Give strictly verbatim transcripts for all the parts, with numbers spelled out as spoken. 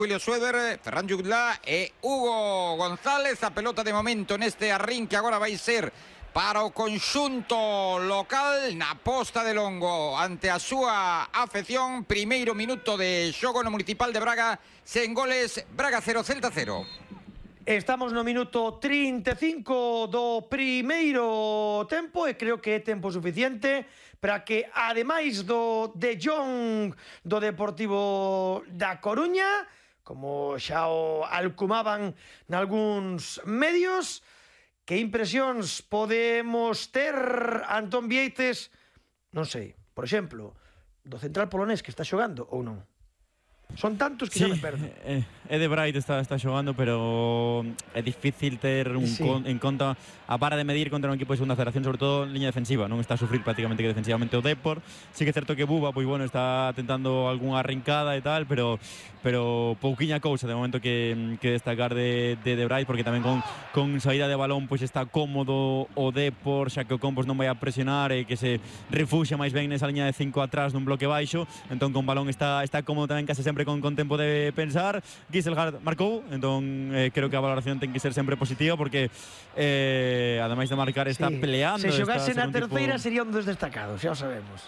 Julio Sueder, Ferran Jutla e Hugo González. A pelota de momento neste arrinque agora vai ser para o conxunto local na posta de longo ante a súa afección. Primeiro minuto de xogo no Municipal de Braga, sen goles, Braga cero, Celta cero. Estamos no minuto trinta e cinco do primeiro tempo e creo que é tempo suficiente para que, ademais do De Jong do Deportivo da Coruña, como xa o alcumaban nalgúns medios, que impresións podemos ter, Antón Vieites, non sei, por exemplo, do central polonés que está xogando ou non? Son tantos que sí, xa me perdo. Eh, Ede Bright está, está xogando, pero é difícil ter un sí. con, en conta a vara de medir contra un equipo de segunda federación, sobre todo en liña defensiva. Non está a sufrir prácticamente que defensivamente o Depor. Sí que é certo que Buba, pois bueno, está tentando algunha arrancada e tal, pero pero pouquiña cousa de momento que, que destacar de, de De Bright, porque tamén con, con saída de balón pois está cómodo o Depor, xa que o Compos non vai a presionar e que se refuxa máis ben nesa liña de cinco atrás nun bloque baixo. Entón con balón está, está cómodo tamén, case sempre Con, con tempo de pensar. Giselgaard marcou, entón eh, creo que a valoración ten que ser sempre positiva, porque eh, ademais de marcar está sí. peleando. Se xogase na tipo... terceira sería un dos destacados, xa o sabemos.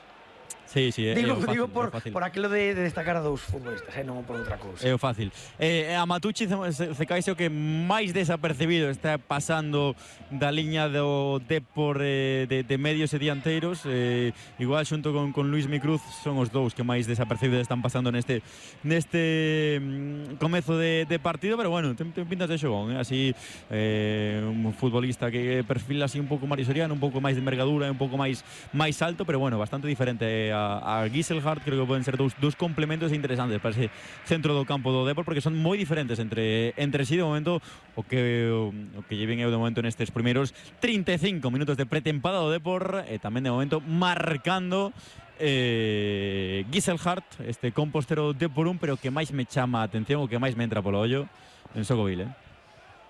Sí, sí, é, digo, é o fácil, digo por, é o fácil. por aquilo de, de destacar a dous futbolistas, eh, non por outra cousa. É o fácil. Eh, a Matucci se, se caise o que máis desapercibido está pasando da liña do Depor eh, de, de medios e dianteiros. Eh, igual xunto con, con Luis Micruz son os dous que máis desapercibidos están pasando neste neste mm, comezo de, de partido, pero bueno, ten, ten pintas de xogón, eh? Así eh, un futbolista que perfila así un pouco máis Soriano, un pouco máis de envergadura, un pouco máis máis alto, pero bueno, bastante diferente a a Giselgaard. Creo que poden ser dous, dous complementos interesantes para ese centro do campo do Depor, porque son moi diferentes entre entre sí. De momento o que o, o que lleven eu de momento nestes primeiros trinta e cinco minutos de pretempada do Depor, e tamén de momento marcando eh, Giselgaard, este compostero de por un, pero que máis me chama a atención, o que máis me entra polo ollo en Sogovil, eh?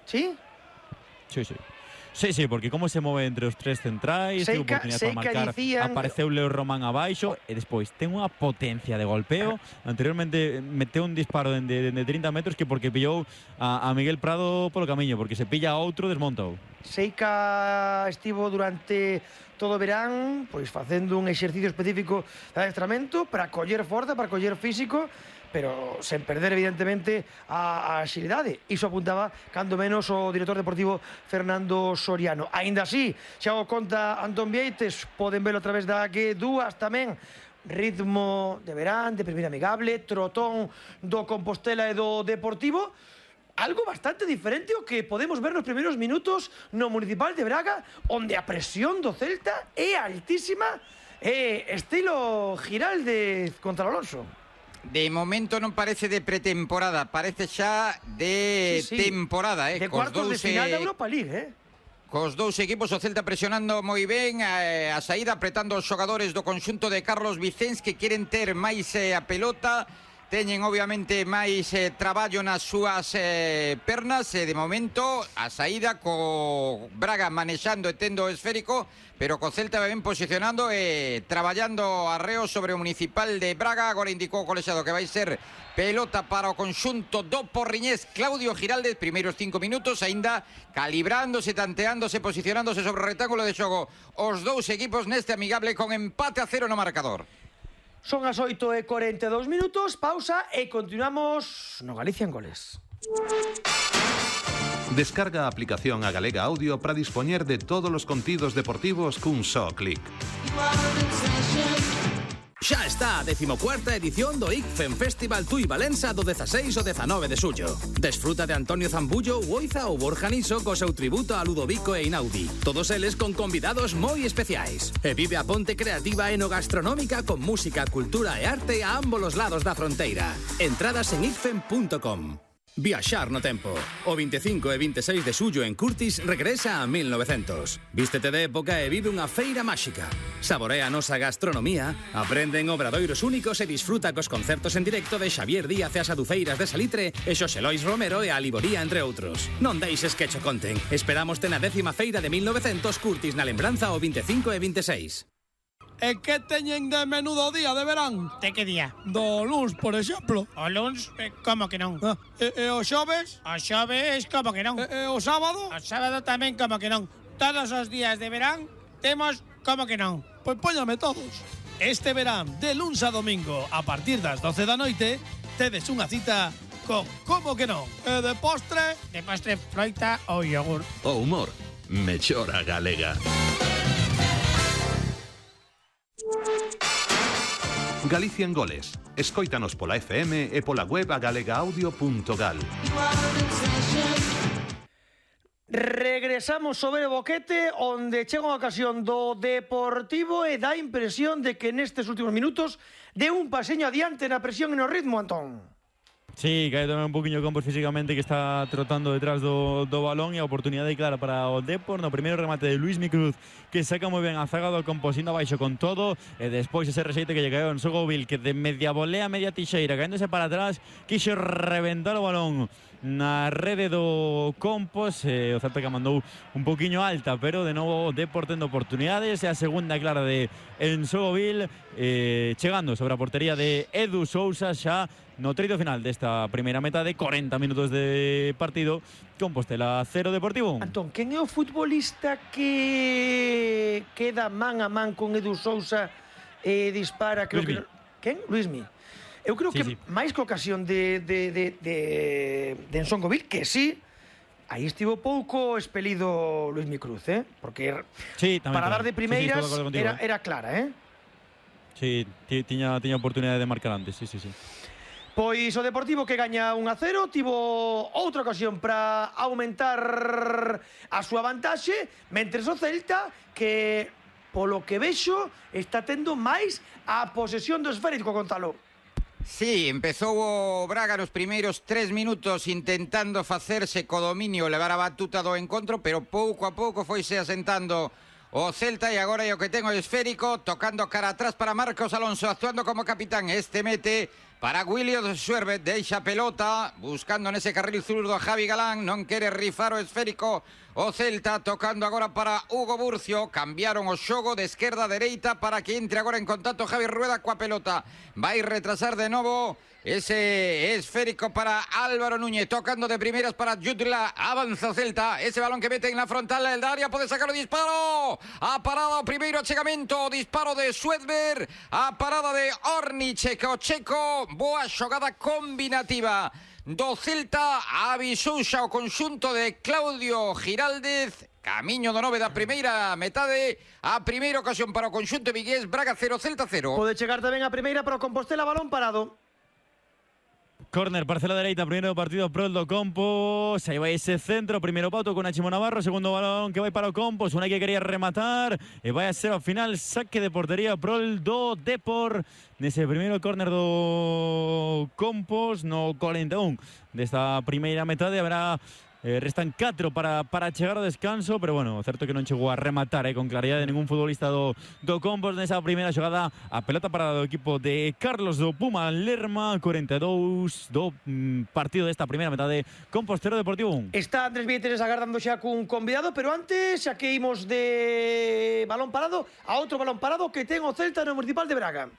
Sí? Sí, sí. Sí, sí, porque como se move entre os tres centrais, ten oportunidade para marcar, dicían... apareceu Leo Román abaixo, e despois ten unha potencia de golpeo. Anteriormente meteu un disparo de, de, de trinta metros que porque pillou a, a Miguel Prado polo camiño, porque se pilla a outro desmontou. Seica estivo durante todo o verán pois facendo un exercicio específico de adestramento para coller forza, para coller físico, pero sen perder evidentemente a, a axilidade. Iso apuntaba cando menos o director deportivo Fernando Soriano. Aínda así, xa o conta Antón Vieites, poden velo a través da G dúas tamén, ritmo de verán, de primeira amigable, trotón do Compostela e do Deportivo, algo bastante diferente o que podemos ver nos primeiros minutos no Municipal de Braga, onde a presión do Celta é altísima, é estilo Giraldez contra Alonso. De momento non parece de pretemporada, parece xa de sí, sí. temporada, eh? De cuartos de final da Europa League, eh? Cos dous equipos, o Celta presionando moi ben eh, a saída, apretando os xogadores do conxunto de Carlos Vicens, que queren ter máis eh, a pelota. Teñen obviamente máis eh, traballo nas súas eh, pernas, e eh, de momento a saída co Braga manexando e tendo o esférico, pero co Celta ben posicionando e eh, traballando arreo sobre o Municipal de Braga. Agora indicou o colexiado que vai ser pelota para o conxunto do porriñés Claudio Giraldez. Primeiros cinco minutos aínda calibrándose, tanteándose, posicionándose sobre o rectángulo de xogo os dous equipos neste amigable con empate a cero no marcador. Son as oito e cuarenta e dous minutos, pausa e continuamos no Galicia en Goles. Descarga a aplicación a Galega Audio para dispoñer de todos os contidos deportivos cun só clic. Xa está a decimocuarta edición do I C F E M Festival Tui Valença do dezaseis ao dezanove de xullo. Desfruta de Antonio Zambullo, Uoiza ou Borja Niso co seu tributo a Ludovico e Inaudi. Todos eles con convidados moi especiais. E vive a ponte creativa enogastronómica con música, cultura e arte a ambos os lados da fronteira. Entradas en i c f e m punto com. Viaxar no tempo. O vinte e cinco e vinte e seis de xullo en Curtis regresa a mil novecientos. Vístete de época e vive unha feira máxica. Saborea a nosa gastronomía, aprende en obradoiros únicos e disfruta cos concertos en directo de Xavier Díaz e as Adufeiras de Salitre e Xosé Lois Romero e a Liboría, entre outros. Non deixes que cho conten. Esperámoste na décima feira de mil novecientos Curtis na lembranza o vinte e cinco e vinte e seis. E que teñen de menudo día de verán? De que día? Do luns, por exemplo. O luns, eh, como que non? Ah, e, e o xoves? O xoves, como que non? E, e o sábado? O sábado tamén, como que non? Todos os días de verán temos como que non? Pois póñame todos. Este verán, de luns a domingo, a partir das doce da noite, tedes unha cita con como que non? E de postre? De postre, froita ou yogur. O humor, mellora galega. Galicia en goles. Escóitanos pola F M e pola web a galegaaudio punto gal. Regresamos sobre o boquete onde chega unha ocasión do Deportivo e dá impresión de que nestes últimos minutos de un paseño adiante na presión e no ritmo, Antón. Sí, cae tamén un poquinho Campos físicamente, que está trotando detrás do, do balón, e a oportunidade clara para o Depor no primeiro remate de Luismi Cruz, que saca moi ben a zaga do Campos indo abaixo con todo, e despois ese rexeite que lle caeu en Sogovil, que de media volea, media tixeira, caéndose para atrás, quixo reventar o balón na rede do Campos, e o Celta que mandou un poquinho alta, pero de novo o Depor tendo oportunidades, e a segunda clara de Ensogovil, eh, chegando sobre a portería de Edu Sousa xa no treito final desta primeira metade, cuarenta minutos de partido, Compostela cero, Deportivo un. Antón, quen é o futbolista que queda man a man con Edu Sousa e dispara, creo Luismi. que... Quen? Luismi. Eu creo Sí, que sí. máis que ocasión de, de, de, de, de Ensongovil, que sí, aí estivo pouco expelido Luismi Cruz, eh? Porque Sí, tamén, para tamén. dar de primeiras sí, sí, estou de acordo contigo, era, eh. era clara, eh? Sí, ti- tiña, tiña oportunidade de marcar antes, sí, sí, sí. Pois o Deportivo que gaña un a cero, tivo outra ocasión para aumentar a súa vantaxe, mentres o Celta que, polo que vexo, está tendo máis a posesión do esférico, Gonzalo. Sí, empezou o Braga nos primeiros tres minutos intentando facerse co dominio, levar a batuta do encontro, pero pouco a pouco foise asentando o Celta, e agora é o que ten o esférico, tocando cara atrás para Marcos Alonso, actuando como capitán. Este mete para William Suervet, deixa a pelota, buscando nese carril zurdo a Javi Galán, non quere rifar o esférico o Celta, tocando agora para Hugo Burcio, cambiaron o xogo de esquerda a dereita para que entre agora en contacto Javi Rueda coa pelota, vai retrasar de novo ese esférico para Álvaro Núñez, tocando de primeras para Jutla, avanza o Celta, ese balón que mete en la frontal del área, pode sacar o disparo, a parada o primeiro achegamento, o disparo de Suedberg, a parada de Orniche, o checo, boa xogada combinativa do Celta, avisou xa o conxunto de Claudio Giraldez, camiño do nove da primeira metade, a primeira ocasión para o conxunto vigués, Braga cero, Celta cero. Pode chegar tamén a primeira para o Compostela, balón parado. Córner, parcela dereita, primeiro partido pro do Campos, aí vai ese centro, primeiro pauto con Achimo Navarro, segundo balón que vai para o Campos, unha que quería rematar, e vai a ser ao final saque de portería pro do Depor, nese primeiro córner do Campos, no cuarenta e un desta primeira metade, haberá Eh, restan catro para, para chegar ao descanso, pero bueno, certo que non chegou a rematar eh, con claridade ningún futbolista do, do Campos nesa primeira xogada. A pelota para do equipo de Carlos do Puma Lerma, cuarenta e dous do mm, partido desta primeira metade. Compostero, Deportivo un. Está Andrés Vietes agardando xa cun convidado, pero antes xa que imos de balón parado a outro balón parado que ten o Celta no Municipal de Braga.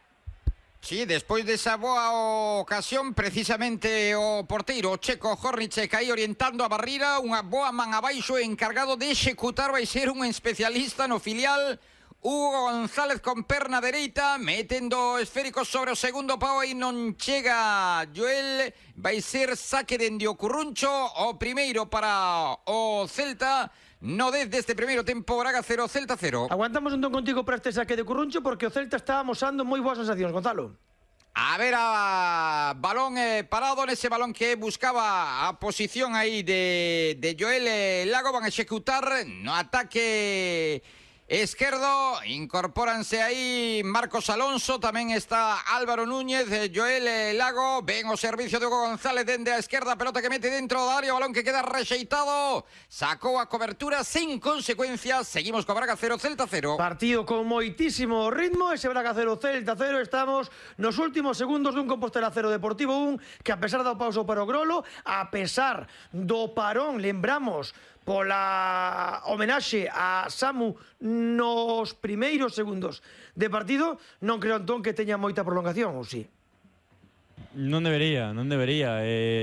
Sí, despois desa boa ocasión, precisamente o porteiro o checo Horniche caí orientando a barrira, unha boa man abaixo, encargado de executar, vai ser un especialista no filial, Hugo González con perna dereita, metendo esférico sobre o segundo pau, e non chega Joel, vai ser saque dende o Curruncho, o primeiro para o Celta. No desde este primeiro tempo, Braga cero, Celta cero. Aguantamos entón contigo para este saque de Curruncho, porque o Celta está amosando moi boas sensacións, Gonzalo. A ver, a balón eh, parado nese balón que buscaba a posición aí de, de Joel eh, Lago, van a executar no ataque esquerdo, incorpóranse aí Marcos Alonso, tamén está Álvaro Núñez, eh, Joel eh, Lago, ven o servicio de Hugo González dende a esquerda, pelota que mete dentro da área, balón que queda rexeitado, sacou a cobertura sen consecuencias, seguimos co Braga cero, Celta cero. Partido con moitísimo ritmo, ese Braga cero, Celta cero, estamos nos últimos segundos dun Compostela cero, Deportivo un, que a pesar do pauso para o Grolo, a pesar do parón, lembramos, pola homenaxe a Samu nos primeiros segundos de partido, non creo entón que teña moita prolongación, ou si? Non debería, non debería. Eh,